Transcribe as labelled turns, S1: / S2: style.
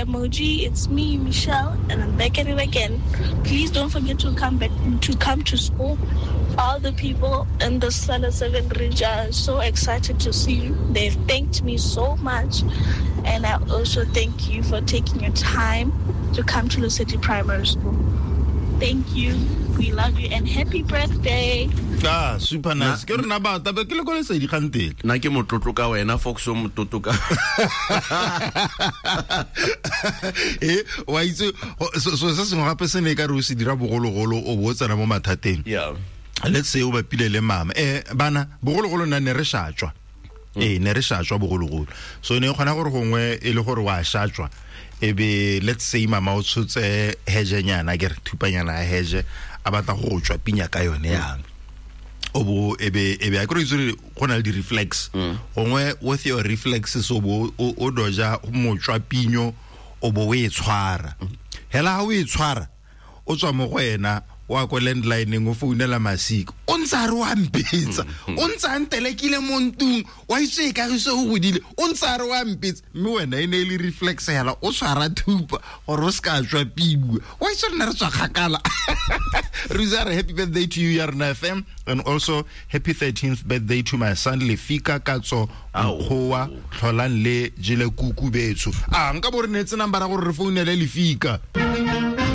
S1: Moji. It's me, Michelle, and I'm back at it again. Please don't forget to come back to come to school. All the people in the Standard 7 Ridge are so excited to see you. They've thanked me so much. And I also thank you for taking your time to come to Lesedi Primary School. Thank you. We love you and happy birthday.
S2: Ah, super nice. Ke rena ba tabe ke le ko lesedi gantele.
S3: Nna ke motlotlo ka wena Fox o motlotlo ka.
S2: Eh, wa itse so se sengwe gape se ne e ka re o se dira bogologolo o bo o tsena mo mathateng.
S3: Yeah.
S2: Let's say o bapile le mama. Eh, bana bogologolo nna ne re shatswa. Ee, ne re shatswa bogologolo. So ne e kgona gore gongwe e le gore wa shatswa e be let's say mama o tshotse hejenyana ke re thupanyana ya heje a batla go tswa pinya ka yone yang o bo e be e be a kry itse go na le di-reflex gongwe with your reflexes o bo o doja motswa pinyo o bo o e tshwara hela ha o e tshwara o tswa mo go ena wa ko landlineng o founela masika o ntse a re wa mpetsa o ntse a ntelekile mo ntung wa itse e kagiso o godile o ntse a re wa mpetsa mme wena e ne e le reflex hela o tshwara thupa gore o se ka tswa piwa wa itse rena re tswa kgakala. Re happy birthday to you ya rena FM and also happy 13th birthday to my son Lefika Katso Mokgowa tlholang le jele kuku betsho. A nka bo re neetse nambara gore re founele Lefika.